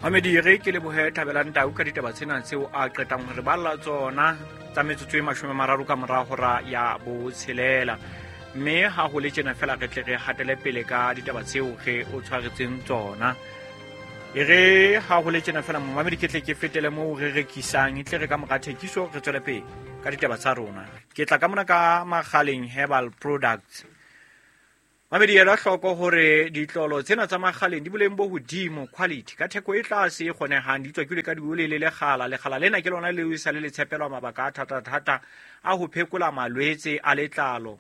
Mamedi, re ke lebohe Thabelang Tau ka ditaba tsena tseo a qetang ho re balla tsona tsa metsotso e 30 ka mora hora ya 6. Mme ha ho le tjena fela re tle re hatele pele ka ditaba tseo re o tshwaretseng tsona. E re ha ho le tjena fela momamedi ke tle ke fetele moo re rekisang, e tle re ka mora thekiso re tswele pele ka ditaba tsa rona. Ke tla ka mona ka Makgaleng Herbal Products. Mamedi, ela hloko hore ditlolo tsena tsa Makgaleng di boleng bo hodimo, quality, ka theko e tlase e kgonehang, di tswakilwe ka dioli le lekgala. Lekgala lena ke lona leo e sa le le tshepelwa mabaka a thata-thata a ho phekola malwetse a letlalo.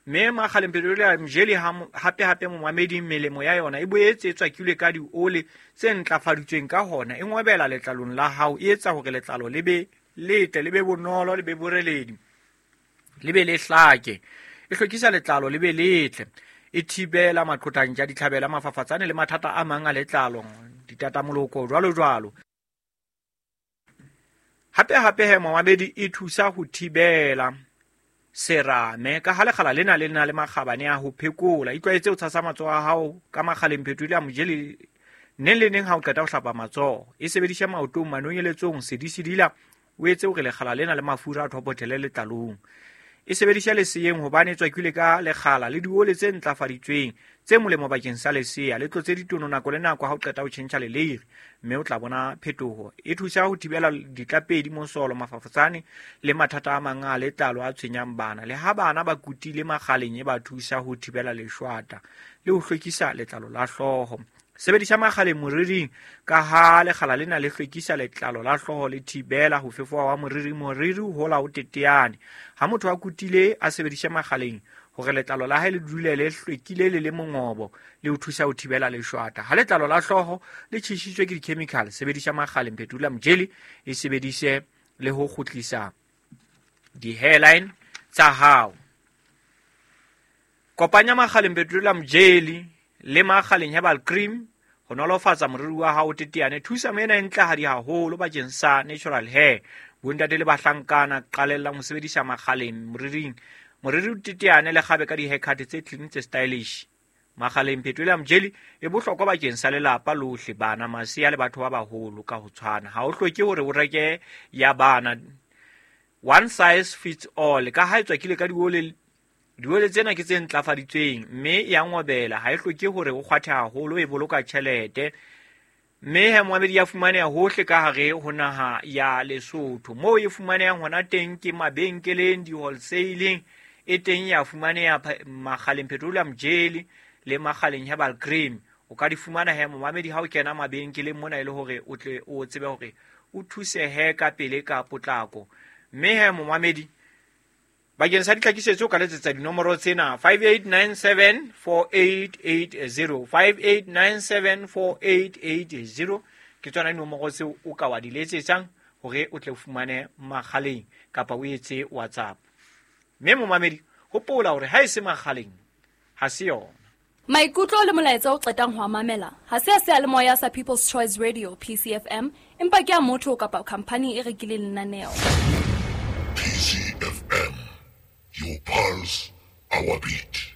Mme Makgaleng Petroleum Jelly hape-hape momamedi, melemo ya yona e boetse e tswakilwe ka dioli tse ntlafaditsweng, ka hona e ngobela letlalong la hao, e etsa hore letlalo le be letle, le be bonolo, le be boreledi, le be le hlake. E hlwekisa letlalo le be letle, e thibela maqhotantja, ditlhabela, mafafatsane le mathata a mang a letlalo, ditatamoloko jwalo jwalo. Hape hape he momamedi, e thusa ho thibela serame ka ha lekgala lena le na le makgabane a ho phekola. Itlwaetse ho tshasa matsoho a hao ka Makgaleng Petroleum Jelly neng le neng ha o qeta ho hlapa matsoho. E sebedisha maotong, manonyeletsong, sedisedila, o etse hore lekgala lena le mafura a thopothele letlalong. E sebedisha leseyeng hobane e tswakilwe ka lekgala le diole tse ntlafaditsweng tse molemo bakeng sa lesea. Le tlotse ditono nako le nako ha o qeta ho tjhentjha leleiri, mme o tla bona phetoho. E thusa ho thibela ditlapedi, mosolo, mafafatsane le mathata a mang a letlalo a tshwenyang bana. Le ha bana ba kutile Makgaleng, e ba thusa ho thibela leshwata le ho hlwekisa letlalo la hlooho. Sebedisa Makgaleng moriring ka ha lekgala lena le hlwekisa letlalo la hlooho, le thibela ho fefoha wa moriri. Moriri o hola o teteane. Ha motho a kutile, a sebedise Makgaleng hore letlalo la hae le dule le hlwekile le le mongobo, le ho thusa ho thibela leshwata. Ha letlalo la hlooho le tjhesitswe ke di-chemical, sebedisa Makgaleng Petroleum Jelly, e sebedise le ho kgutlisa di-hairline tsa hao. Kopanya Makgaleng Petroleum Jelly le Makgaleng Herbal Cream ho nolofatsa moriri wa hao o teteane. Thusa ena e ntlehadi haholo bakeng sa natural hair. Bontate le bahlankana, qalellang ho sebedisa Makgaleng moriring. Moriri o teteane le kgabe ka di-haircut tse clean, tse stylish. Makgaleng Petroleum Jelly e bohlokwa bakeng sa lelapa lohle, bana, masea le batho ba baholo ka ho tshwana. Ha o hloke hore o reke ya bana, one size fits all. Ka ha e tswakile ka diole, diole tsena ke tse ntlafaditsweng mme ya ngobela, ha e hloke hore o kgwathe haholo, e boloka tjhelete. Mme he momamedi, ya fumaneha hohle ka hare ho naha ya Lesotho. Moo e fumanehang hona teng ke mabenkeleng, di-wholesaleng, e teng ya fumaneha Makgaleng Petroleum Jelly le Makgaleng Herbal Cream. O ka di fumana he momamedi ha o kena mabenkeleng mona, e le hore o tle o tsebe hore o thusehe ka pele ka potlako. Mme he momamedi, bakeng sa ditlhakisetso o ka letsetsa dinomoro tsena: 5897 4880, 5897 4880. Ke tsona dinomoro tseo o ka wa di letsetsang hore o tle o fumane Makgaleng kapa o etse WhatsApp. Mme momamedi, hopola hore ha e se Makgaleng ha se yona. Maikutlo le molaetsa o qetang ho a mamela ha se a seyalemoya sa People's Choice Radio, PCFM, empa ke a motho kapa khamphani e rekileng lenaneo. PCFM, your pulse, our beat.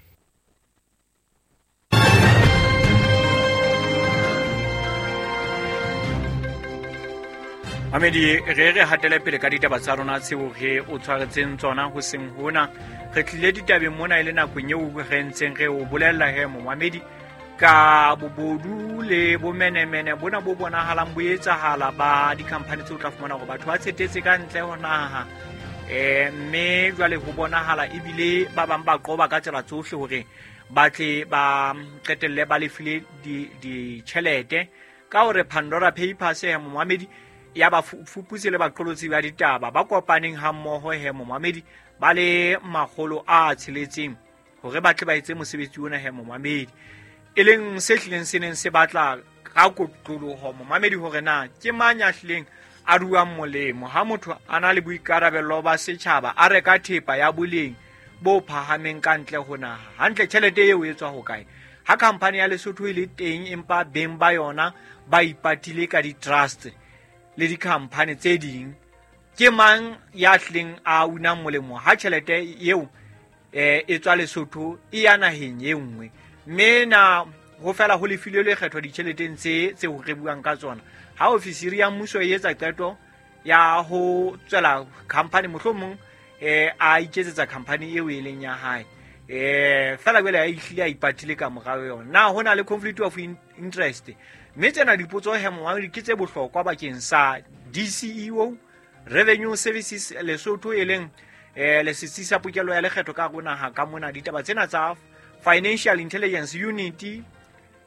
Mamedi, re hatele pele ka ditaba tsa rona tseo re o tshwaretseng tsona hoseng hona. Re tlile ditabeng mona e le nakong eo re ntseng re o bolella he momamedi ka bobodu le bomenemene bona bo bonahalang bo etsahala ba di-company tseo o tla fumana hore batho ba tshetetse ka ntle ho naha. Mme jwale ho bonahala ebile ba bang ba qoba ka tsela tsohle hore ba tle ba qetelle ba lefile ditjhelete ka hore Pandora Papers he momamedi ya ba fuputse le baqolotsi ba ditaba ba kopaneng ha mmoho he momamedi ba le 600 hore ba tle ba etse mosebetsi ona he momamedi, e leng se hlileng se neng se batla ka kotloloho momamedi hore na ke mang ya hlileng a ruang molemo ha motho a na le boikarabello ba setjhaba a reka thepa ya boleng bo phahameng ka ntle ho naha. Hantle tjhelete eo e tswa hokae? Ha khampani ya Lesotho e le teng empa beng ba yona ba ipatile ka di-trust le di-company tse ding, ke mang ya hlileng a unang molemo ha tjhelete eo e tswa Lesotho e ya naheng e nngwe? Mme na Ho fela ho lefilwe lekgetho ditjheleteng tse tseo re buang ka tsona. Ha ofisiri ya mmuso e etsa qeto ya ho tswela company, mohlomong a iketsetsa company eo e leng ya hae, fela jwale a ihlile a ipatile ka morao yona. Na ho na le conflict of interest? Mme tsena dipotso he momamedi ke tse bohlokwa bakeng sa DCEO Revenue Services Lesotho, e leng le setsi sa pokello ya lekgetho ka hare ho naha ka mona. Ditaba tsena tsa Financial Intelligence Unit,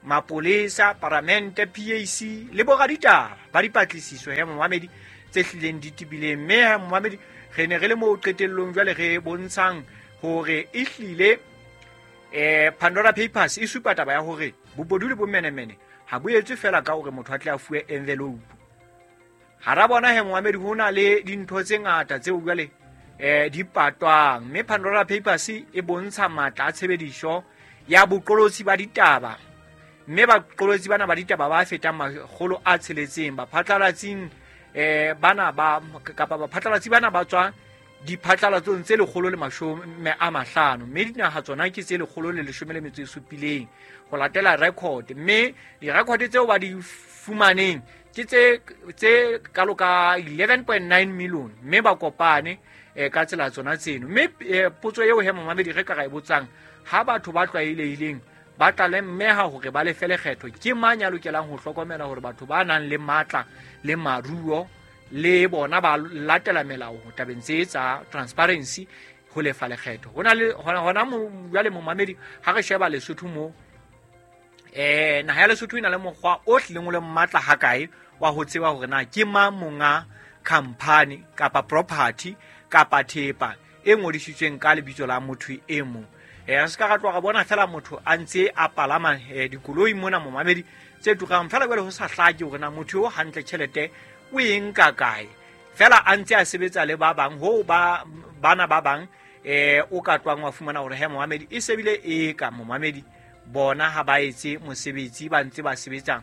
mapolesa, paramente, PAC le boraditaba ba dipatlisiso he momamedi tse hlileng di tebileng. Mme he momamedi re ne re le moo qetellong jwale re bontshang hore e hlile Pandora Papers e supa taba ya hore bobodu le bomenemene ha bo etswe fela ka hore motho a tle a fuwe envelope. Hara bona he momamedi ho na le dintho tse ngata tseo jwale di patwang. Mme Pandora Papers e bontsha matla a tshebediso ya boqolotsi ba ditaba, mme baqolotsi bana ba ditaba ba fetang 600 baphatlalatsing bana ba kapa baphatlalatsi bana ba tswa diphatlalatsong tse 150, mme dinaha tsona ke tse 117 ho latela record. Mme di-record tseo ba di fumaneng ke tse kalo ka 11.9 million, mme ba kopane ka tsela tsona tseno. Mme potso eo he momamedi re ka ra e botsang, ha batho ba tlwaelehileng ba tla lemeha hore ba lefe lekgetho, ke mang ya lokelang ho hlokomela hore batho ba nang le matla le maruo le bona ba latela melao tabeng tse tsa transparency ho lefa lekgetho? Ho na le hona jwale momamedi ha re sheba Lesotho mo, naha ya Lesotho e na le mokgwa o hlileng o le matla hakae wa ho tseba hore na ke mang monga company kapa property kapa thepa e ngodisitsweng ka lebitso la motho e mong. Re se ka ra tloha ra bona fela motho a ntse a palama dikoloi mona momamedi tse turang, fela jwale ho sa hlake hore na motho eo hantle tjhelete o e nka kae, fela a ntse a sebetsa le ba bang ho ba bana ba bang o ka tlwang wa fumana hore he momamedi e sebile e ka momamedi bona ha ba etse mosebetsi, ba ntse ba sebetsa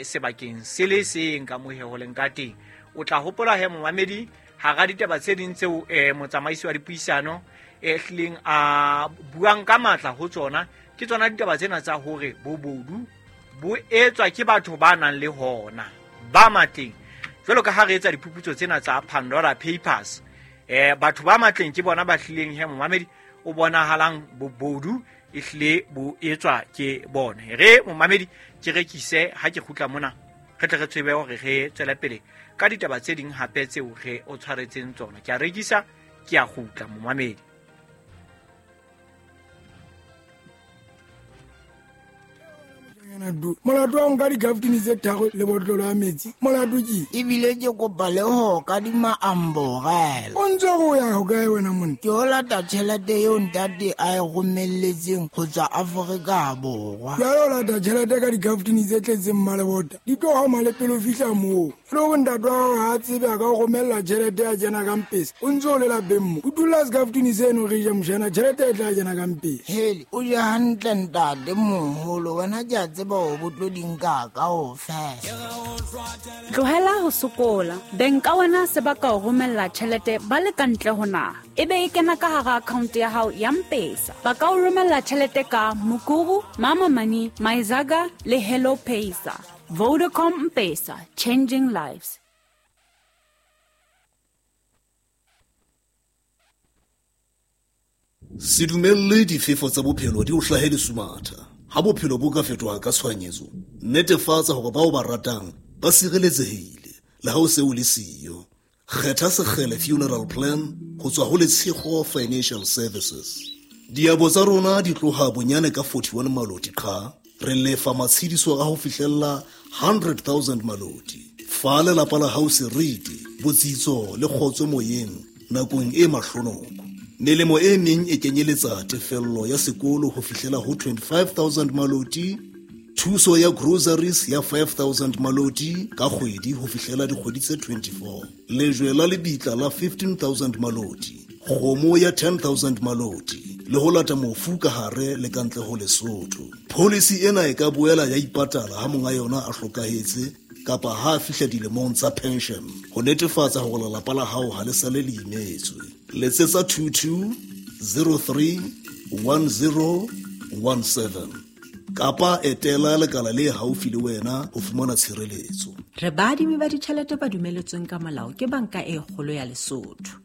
sebakeng se le seng ka mohe ho leng ka teng. O tla hopola he momamedi hara ditaba tse ding tseo motsamaisi wa dipuisano hlileng a buang ka matla ho tsona, ke tsona ditaba tsena tsa hore bobodu bo etswa ke batho ba nang le hona ba matleng. Jwalo ka ha re etsa diphuputso tsena tsa Pandora Papers, batho ba matleng ke bona ba hlileng he momamedi o bonahalang bobodu e hlile bo etswa ke bona. Re momamedi ke rekise ha ke kgutla mona, re tle re tsebe hore re tswele pele ka ditaba tse ding hape tseo re o tshwaretseng tsona. Ke a rekisa, ke a kgutla momamedi. Molato wa nka dikaftini tse tharo le botlolo ya metsi, molato ke ebile ke kopa le ho kadima amborela. O ntse o ya hokae wena monna? Ke o lata tjhelete eo ntate a e romelletseng ho tswa Afrika Borwa. Jwale o lata tjhelete ka dikaftini tse tletseng mmalebota, di tlo homa le pele o fihla moo. E le hore ntate wa hao ha a tsebe a ka o romella tjhelete ya kena ka mpesa, o ntse o le lapeng mo. O dula sekaftini seno re je mshana, tjhelete e tla kena ka mpesa. Hele, o je hantle ntate moholo, wena ke a tseba o botlo di nka kaofela. Tlohela ho sokola. Beng ka wena se ba ka o romella tjhelete ba le ka ntle ho naha, ebe e kena ka hara account ya hao ya M-Pesa. Ba ka o romella tjhelete ka Mukuru, Mama Money, Myzaga le Hello Pesa. Vodacom M-Pesa, changing lives. Se dumelle difefo tsa bophelo di o hlahe lesumatha. Ha bophelo bo ka fetoha ka tshohanyetso, netefatsa hore bao ba ratang ba sireletsehile le ha o se o le siyo. Kgetha Sekgele Funeral Plan ho tswa ho Letshego Financial Services. Diabo tsa rona di tloha bonyane ka 41 maloti qha, re lefa matshediso a ho fihlella 100,000 maloti. Fa lelapa la hao seriti, botsitso le kgotso moyeng nakong e mahlonoko. Melemo e meng e kenyeletsa tefello ya sekolo ho fihlela ho 25,000 maloti, thuso ya groceries ya 5,000 maloti ka kgwedi ho fihlela dikgwedi tse 24, lejwe la lebitla la 15,000 maloti, kgomo ya 10,000 maloti le ho lata mofu ka hare le ka ntle ho Lesotho. Policy ena e ka boela ya ipatala ha monga yona a hlokahetse kapa ha a fihla dilemong tsa pension, ho netefatsa hore lelapa la hao ha le sale le imetswe. Letsetsa 22 03 10 17. Kapa etela lekala le haufi le wena ho fumana tshireletso. Re baadimi ba ditjhelete ba dumeletsweng ka molao ke Banka e Kgolo ya Lesotho.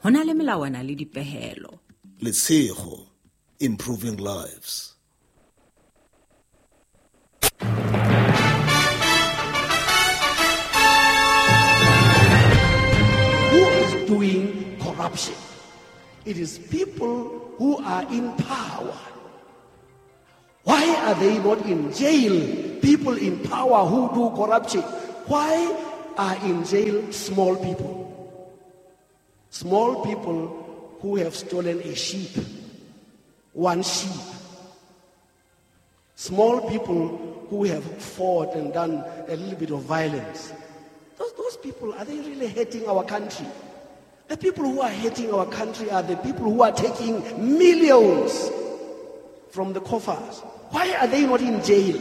Ho na le melawana le dipehelo. Letshego, improving lives. Who is doing corruption? It is people who are in power. Why are they not in jail? People in power who do corruption. Why are in jail small people? Small people who have stolen a sheep, one sheep. Small people who have fought and done a little bit of violence. Those people, are they really hating our country? The people who are hating our country are the people who are taking millions from the coffers. Why are they not in jail?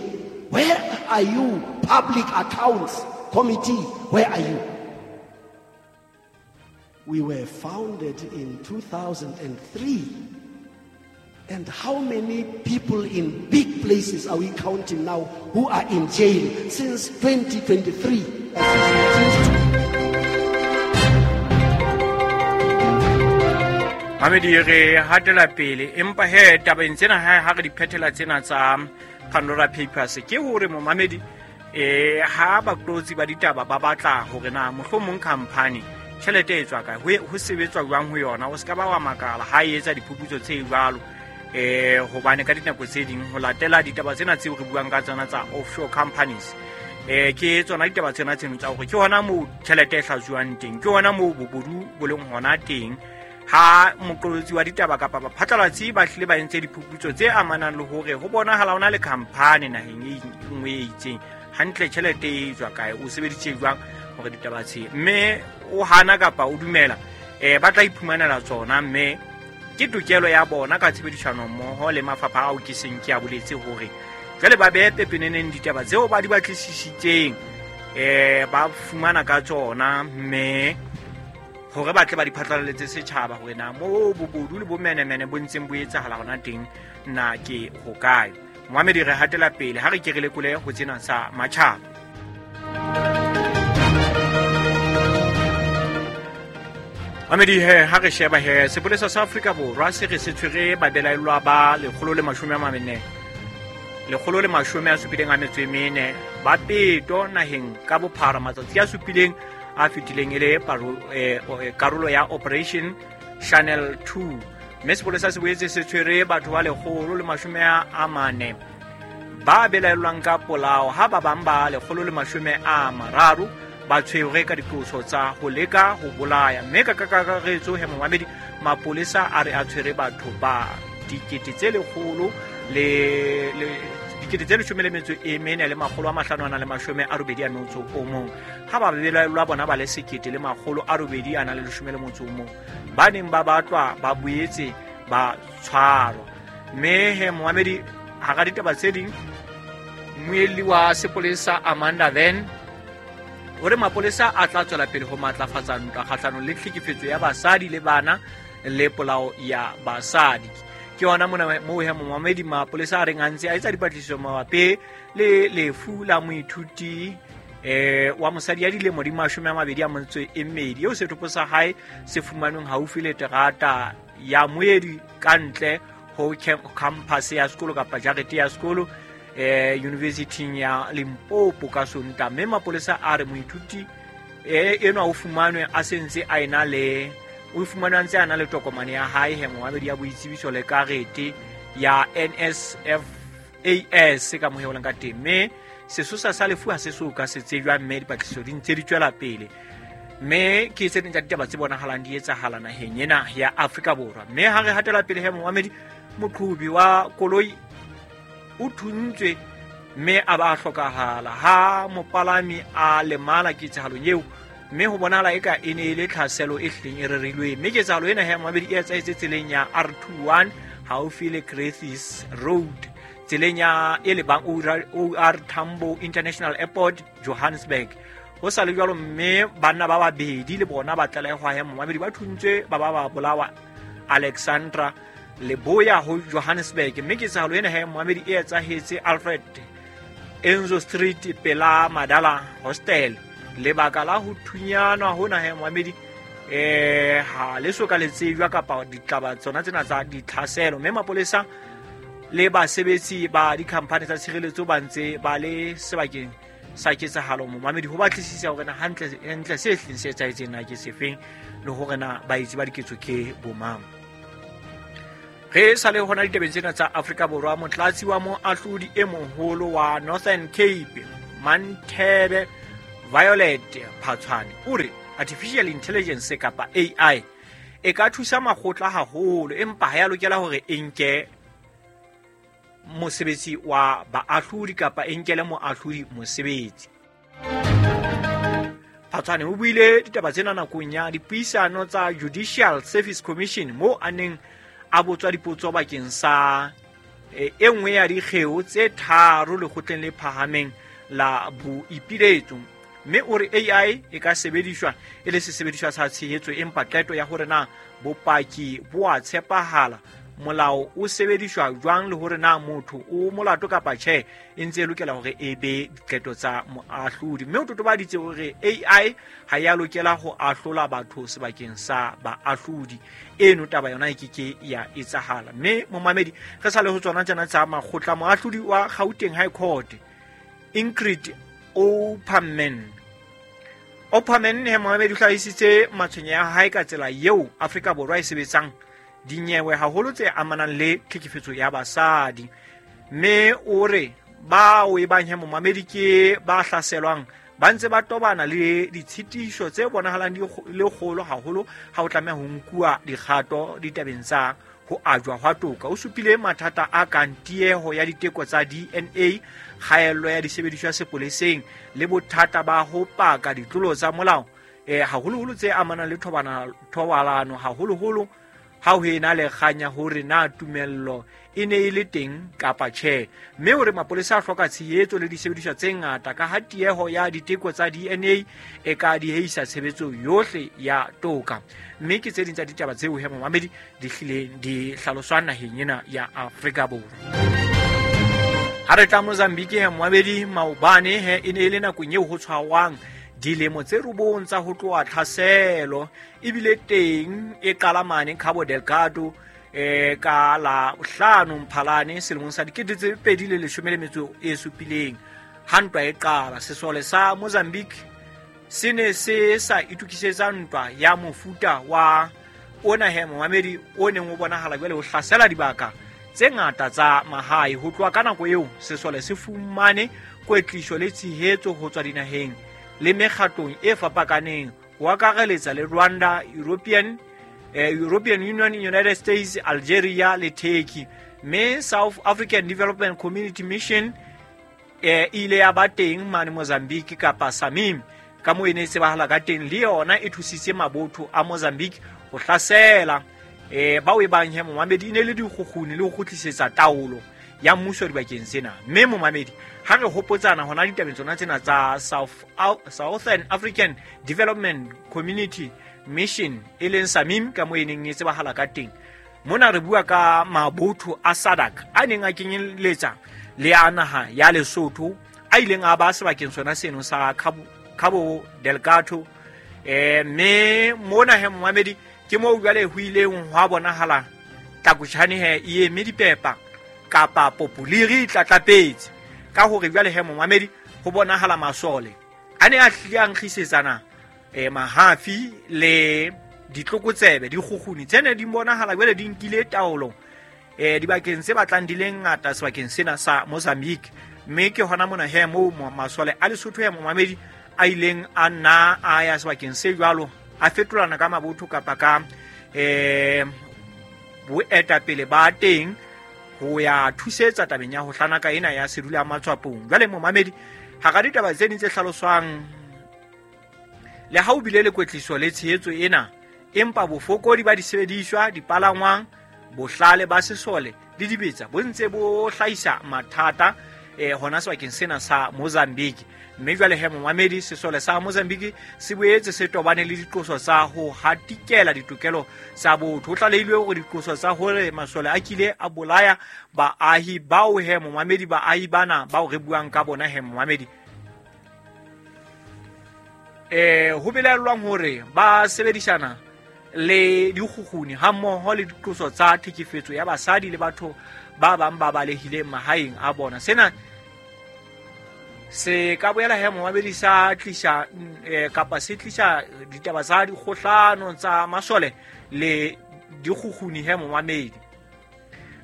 Where are you, Public Accounts Committee? Where are you? We were founded in 2003. And how many people in big places are we counting now who are in jail since 2023? Mamedi re hatela pele, empa he tabeng tsena ha re di phethela tsena tsa Pandora Papers, ke hore momamedi ha baqolotsi ba ditaba ba batla hore na mohlomong company tjhelete e tswa kae, ho sebetswa jwang ho yona, o ska ba wa makala ha e etsa diphuputso tse jwalo. Hobane ka dinako tse ding ho latela ditaba tsena tseo re buang ka tsona tsa offshore companies, ke tsona ditaba tsena tseno tsa hore ke hona moo tjhelete e hlajuwang teng, ke hona moo bobodu bo leng hona teng. Ha moqolotsi wa ditaba kapa baphatlalatsi ba hlile ba entse diphuputso tse amanang le hore ho bonahala ho na le company naheng e nngwe e itseng, hantle tjhelete e tswa kae, o sebeditse jwang hore ditaba tse, mme o hana kapa o dumela, ba tla iphumanela tsona, mme ke tokelo ya bona ka tshebedisano mmoho le mafapha ao ke seng ke a boletse hore jwale ba behe pepeneneng ditaba tseo ba di batlisisitseng, ba fumana ka tsona, mme hore ba tle ba di phatlalaletse setjhaba hore na moo bobodu le bomenemene bo ntseng bo etsahala hona teng na ke hokae. Moamedi re hatela pele ha re ke re lekole ho tsena sa matjhaba. Mamedi he ha re sheba he sepolesa sa Afrika Borwa se re se tshwere babelaellwa ba 174 ba peto naheng ka bophara matsatsi a supileng a fetileng e le karolo ya Operation Channel 2. Mme sepolesa se boetse se tshwere batho ba 140 ba belaellwang ka polao, ha ba bang ba 130 ba tshwerwe ka diqoso tsa ho leka ho bolaya. Mme ka kakaretso he momamedi, mapolesa a re a tshwere batho ba 114 581, ha ba belaellwa bona ba le 1811 ba neng ba batlwa ba boetse ba tshwarwa. Mme he momamedi, hara ditaba tse ding, mmuelli wa sepolesa Amanda Van o re mapolesa a tla tswela pele ho matlafatsa ntwa kgahlanong le tlhekefetso ya basadi le bana le polao ya basadi. Ke yona mona moo he momamedi mapolesa a reng a ntse a etsa dipatlisiso mabapi le lefu la moithuti wa mosadi ya dilemo di 22 eo setopo sa hae se fumanweng haufi le terata ya moedi ka ntle ho campus ya sekolo kapa jarete ya sekolo university ya Limpopo ka Sontaha. Mme mapolesa a re moithuti enwa o fumanwe a sentse a ena le o fumanwe a ntse a na le tokomane ya hae he momamedi ya boitsebiso le karete ya NSFAS ka moheoleng ka teng. Mme sesosa sa lefu ha se so ka se tsejwa, mme dipatlisiso di ntse di tswela pele. Mme ke tse ding tsa ditaba tse bonahalang di etsahala naheng ena ya Afrika Borwa. Mme ha re hatela pele he momamedi, moqhobi wa koloi o thuntswe mme a ba hlokahala ha mopalami a lemala ketsahalong eo, mme ho bonahala eka e ne e le tlhaselo e hlileng e rerilweng. Mme ketsahalo ena he momamedi e etsahetse tseleng ya R21 haufi le Crethis Road, tseleng ya e lebang OR Tambo International Airport, Johannesburg. Ho sa le jwalo, mme banna ba babedi le bona ba tlalehwa he momamedi ba thuntswe ba ba bolawa Alexandra. leboya ho Johannesburg. Mme ketsahalo ena he momamedi e etsahetse Alfred Enzo Street pela Madala Hostel. Lebaka la ho thunyanwa hona he momamedi ha le so ka le tsejwa kapa ditlaba tsona tsena tsa ditlhaselo, mme mapolesa le basebetsi ba dikhamphani tsa tshireletso ba ntse ba le sebakeng sa ketsahalo momamedi ho batlisisa hore na hantle se hleng se etsahetseng na ke sefeng, le hore na baetsi ba diketso ke bomang. Re sa le hona ditabeng tsena tsa Afrika Borwa, motlatsi wa moahlodi e moholo wa Northern Cape Manthebe Violet Phatshwane o re artificial intelligence kapa AI e ka thusa makgotla haholo, empa ha ya lokela hore e nke mosebetsi wa baahlodi kapa e nkele moahlodi mosebetsi. Phatshwane o buile ditaba tsena nakong ya dipuisano tsa Judicial Service Commission moo a neng a botswa dipotso bakeng sa e nngwe ya dikgeo tse 3 lekgotleng le phahameng la boipiletso. Mme o re AI e ka sebediswa e le sesebediswa sa tshehetso, empa qeto ya hore na bopaki bo a tshepahala, molao o sebediswa jwang, le hore na motho o molato kapa tjhe, e ntse e lokela hore e be diqeto tsa moahlodi. Mme o totobaditse hore AI ha ya lokela ho ahlola batho sebakeng sa baahlodi. Eno taba yona e keke ya etsahala. Mme momamedi, re sa le ho tsona tsena tsa makgotla, moahlodi wa Gauteng High Court Ingrid Opperman he momamedi o hlahisitse matshwenyeho a hae ka tsela eo Afrika Borwa e sebetsang dinyewe haholo tse amanang le tlhekefetso ya basadi. Mme o re bao e bang he momamedi ke ba hlaselwang ba ntse ba tobana le ditshitiso tse bonahalang di le kgolo haholo ha o tlameha ho nkuwa dikgato ditabeng tsa ho ajwa hwa toka. O supile mathata a kang tieho ya diteko tsa DNA, kgaello ya disebediswa sepoleseng, le bothata ba ho paka ditlolo tsa molao haholoholo tse amanang le thobalano, haholoholo ha ho ena le kganya hore na tumello e ne e le teng kapa tjhe. Mme hore mapolesa a hloka tshehetso le disebediswa tse ngata ka ha tieho ya diteko tsa DNA e ka dieisa tshebetso yohle ya toka. Mme ke tse ding tsa ditaba tseo he momamedi di hlileng di hlaloswang naheng ena ya Afrika Borwa. Ha re tla Mozambique he momamedi, maobane he e ne e le nakong eo ho tshwarwang dilemo tse 9 tsa ho tloha tlhaselo ebile teng e qala mane Cabo Delgado ka la 5 Mphalane selemong sa 2017. Ha ntwa e qala, sesole sa Mozambique se ne se sa itokisetsa ntwa ya mofuta wa ona he momamedi o neng o bonahala jwale ho hlasela dibaka tse ngata tsa mahae. Ho tloha ka nako eo, sesole se fumane kwetliso le tshehetso ho tswa dinaheng le mekgatlong e fapakaneng, ho akareletsa le Rwanda, European Union, United States, Algeria le Turkey. Mme South African Development Community Mission e ile ya ba teng mane Mozambique kapa SAMIM ka moo e ne e tsebahala ka teng, le yona e thusitse mabotho a Mozambique ho hlasela bao e bang he momamedi e ne le dikgukguni le ho kgutlisetsa taolo ya mmuso dibakeng tsena. Mme momamedi, ha re hopotsana hona ditabeng tsona tsena tsa Southern African Development Community Mission e leng SAMIM ka moo e neng e tsebahala ka teng, mona re bua ka mabotho a SADC a neng a kenyeletsa le a naha ya Lesotho a ileng a ba sebakeng sona seno sa Cabo Delgado. Mme mona he momamedi ke moo jwale ho ileng hwa bonahala tlakotjhane he e eme dipepa kapa populiri tlatlapetse ka hore jwale he momamedi ho bonahala masole a ne a hlile a nkgisetsana mahafi le ditlokotsebe dikgukguni tse ne di bonahala jwale di nkile taolo dibakeng tse batlang di le ngata sebakeng sena sa Mozambique. Mme ke hona mona he moo masole a Lesotho he momamedi a ileng a nna a ya sebakeng se jwalo, a fetolana ka mabotho kapa ka boetapele ba teng ho ya thusetsa tabeng ya ho hlanaka ena ya sedula matswapong. Jwale momamedi, hara ditaba tse ding tse hlaloswang, le ha o bile le kwetliso le tshehetso ena, empa bofokodi ba disebediswa, dipalangwang, bohlale ba sesole le dibetsa bo ntse bo hlahisa mathata. Hona sebakeng sena sa Mozambique. Mme jwale he momamedi, sesole sa Mozambique se boetse se tobane le diqoso tsa ho hatikela ditokelo tsa botho. Ho tlalehilwe hore diqoso tsa hore masole a kile a bolaya baahi bao he momamedi, baahi bana bao re buang ka bona he momamedi, ho belaellwang hore ba sebedisana le dikgukguni hammoho le diqoso tsa tlhekefetso ya basadi le batho ba bang ba balehileng mahaeng a bona. Sena se ka boela he momamedi sa tlisa kapa se tlisa ditaba tsa dikgohlano tsa masole le dikgukguni he momamedi.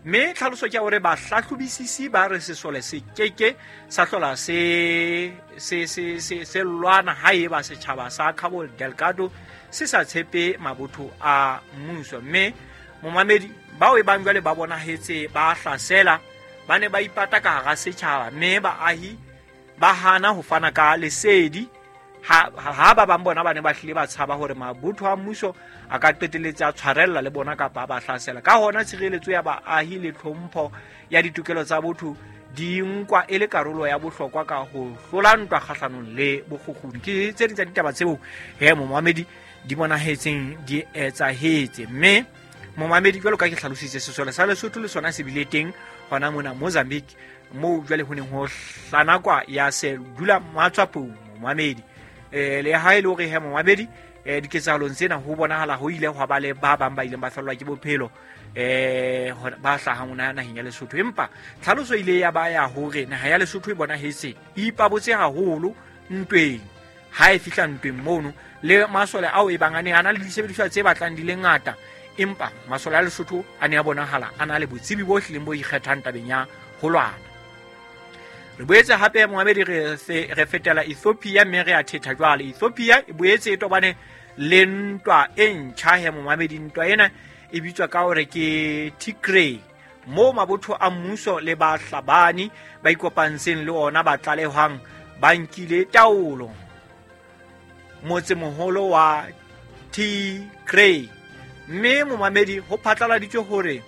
Mme tlhaloso ke ya hore bahlahlobisisi ba re sesole se keke sa hlola se lwana haeba setjhaba sa Cabo Delgado se sa tshepe mabotho a mmuso. Mme momamedi, bao e bang jwale ba bonahetse ba hlasela ba ne ba ipata ka hara setjhaba, mme baahi ba hana ho fana ka lesedi ha ba bang bona ba ne ba hlile ba tshaba hore mabotho a mmuso a ka qetelletse a tshwarella le bona kapa ba hlasela. Ka hona tshireletso ya baahi le tlhompho ya ditokelo tsa botho di nkwa e le karolo ya bohlokwa ka ho hlola ntwa kgahlanong le bokgukguni. Ke tse ding tsa ditaba tseo he momamedi di bonahetseng di etsahetse. Mme momamedi, jwalo ka ke hlalositse, sesole sa Lesotho le sona se bile teng hona mona Mozambique, moo jwale ho neng ho hlanakwa ya se dula matswapong momamedi. Le ha e le hore he momamedi, diketsahalong tsena ho bonahala ho ile hwa ba le ba bang ba ileng ba fellwa ke bophelo ba hlahang hona naheng ya Lesotho. Empa tlhaloso ile ya ba ya hore naha ya Lesotho e bonahetse e ipabotse haholo ntweng. Ha e fihla ntweng mono le masole ao e bang a ne a na le disebediswa tse batlang di le ngata, empa masole a Lesotho a ne a bonahala a na le botsebi bo hlileng bo ikgethang tabeng ya ho lwana. Re boetse hape momamedi re fetela Ethiopia, mme re a thetha jwale. Ethiopia e boetse e tobane le ntwa e ntjha he momamedi. Ntwa ena e bitswa ka hore ke Tigray, moo mabotho a mmuso le bahlabani ba ikopantseng le ona ba tlalehwang ba nkile taolo motsemoholo wa Tigray. Mme momamedi, ho phatlaladitswe hore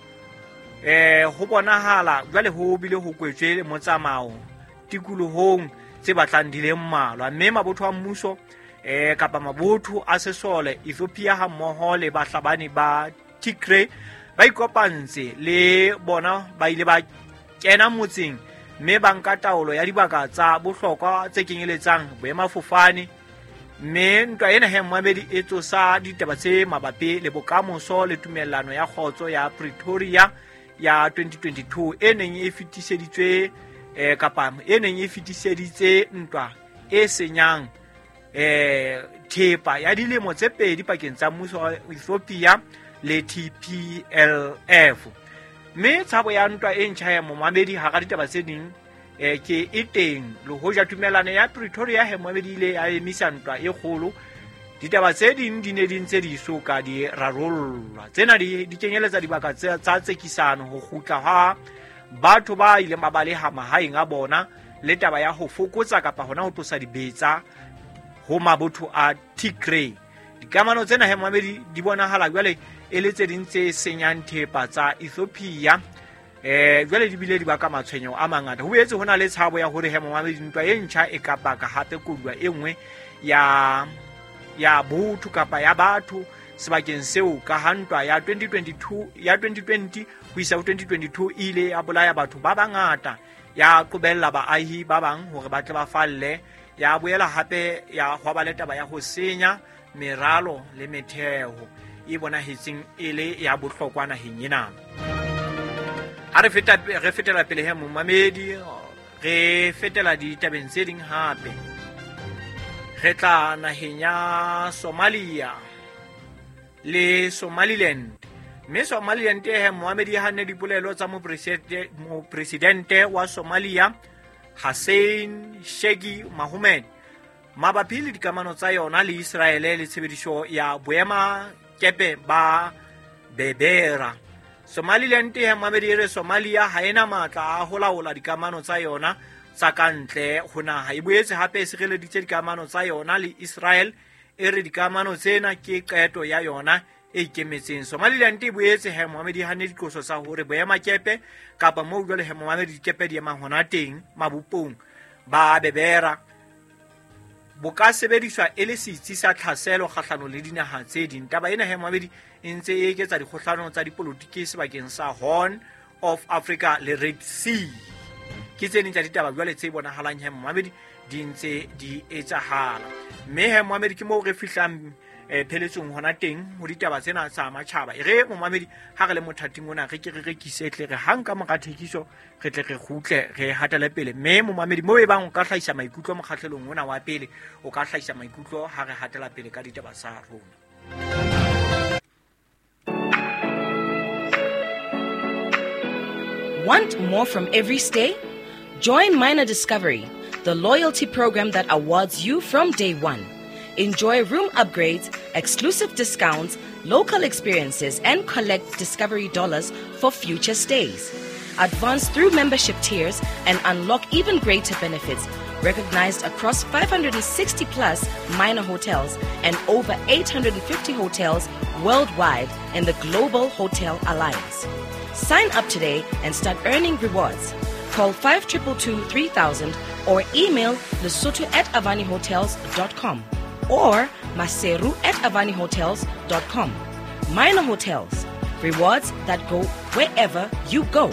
ho bonahala jwale ho bile ho kwetswe le motsamao tikolohong tse batlang di le mmalwa. Mme mabotho a mmuso kapa mabotho a sesole Ethiopia hammoho le bahlabani ba Tigray ba ikopantse le bona, ba ile ba kena motseng mme ba nka taolo ya dibaka tsa bohlokwa tse kenyeletsang boemafofane. Mme ntwa ena he momamedi e tsosa ditaba tse mabapi le bokamoso le tumellano ya kgotso ya Pretoria ya 2022 e neng e fetiseditswe kapa e neng e fetiseditse ntwa e senyang thepa ya dilemo tse pedi pakeng tsa mmuso wa Ethiopia le TPLF. Mme tshabo ya ntwa e ntjha ya momamedi hara ditaba tse ding ke e teng. Le hoja tumellano ya Pretoria he momamedi ile ya emisa ntwa e kgolo, ditaba tse ding di ne di ntse di so ka di rarollwa. Tsena di kenyeletsa dibaka tsa tsekisano, ho kgutla ha batho ba ileng ba baleha mahaeng a bona, le taba ya ho fokotsa kapa hona ho tlosa dibetsa ho mabotho a Tigray. Dikamano tsena he momamedi di bonahala jwale e le tse ding tse senyang thepa tsa Ethiopia. Jwale di bile di baka matshwenyeho a mangata. Ho boetse ho na le tshabo ya hore he momamedi ntwa e ntjha e ka baka hape koduwa e nngwe ya botho kapa ya batho sebakeng seo, ka ha ntwa ya 2022 ya 2020 ho isa ho 2022 e ile ya bolaya batho ba bangata, ya qobella baahi ba bang hore ba tle ba falle, ya boela hape ya hwa le taba ya ho senya meralo le metheo e bonahetseng e le ya bohlokwa naheng ena. Ha re fetela pele he momamedi, re fetela ditabeng tse ding hape. Re tla naheng ya Somalia le Somaliland. Mme Somaliland he momamedi ha nne dipolelo tsa mopresidente wa Somalia Hassan Sheikh Mohamud mabapi le dikamano tsa yona le Israele le tshebediso ya boema kepe ba Berbera. Somaliland he momamedi e re Somalia ha ena matla a ho laola dikamano tsa yona tsa ka ntle ho naha. E boetse hape e sireleditse dikamano tsa yona le Israel, e re dikamano tsena ke qeto ya yona e ikemetseng. Somaliland e boetse he momamedi e hanne diqoso tsa hore boemakepe kapa moo jwale he momamedi dikepe di emang hona teng mabopong ba Bebera bo ka sebediswa e le setsi sa tlhaselo kgahlano le dinaha tse ding. Taba ena he momamedi e ntse e eketsa dikgohlano tsa dipolotiki sebakeng sa Horn of Africa le Red Sea. Ke tse ding tsa ditaba jwale tse bonahalang he momamedi di ntse di etsahala. Mme he momamedi ke moo re fihlang pheletsong hona teng ho ditaba tsena tsa matjhaba. E re momamedi ha re le mothating ona re ke re rekise tle re hang ka mora thekiso re tle re kgutle re hatele pele. Mme momamedi moo e bang o ka hlahisa maikutlo mokgahlelong ona wa pele, o ka hlahisa maikutlo ha re hatela pele ka ditaba tsa rona. Want more from every stay? Join Minor Discovery, the loyalty program that awards you from day one. Enjoy room upgrades, exclusive discounts, local experiences, and collect Discovery dollars for future stays. Advance through membership tiers and unlock even greater benefits, recognized across 560 plus minor hotels and over 850 hotels worldwide in the Global Hotel Alliance. Sign up today and start earning rewards. Call 5222 3000 or email lesotho@avanihotels.com or maseru@avanihotels.com. Minor Hotels, rewards that go wherever you go.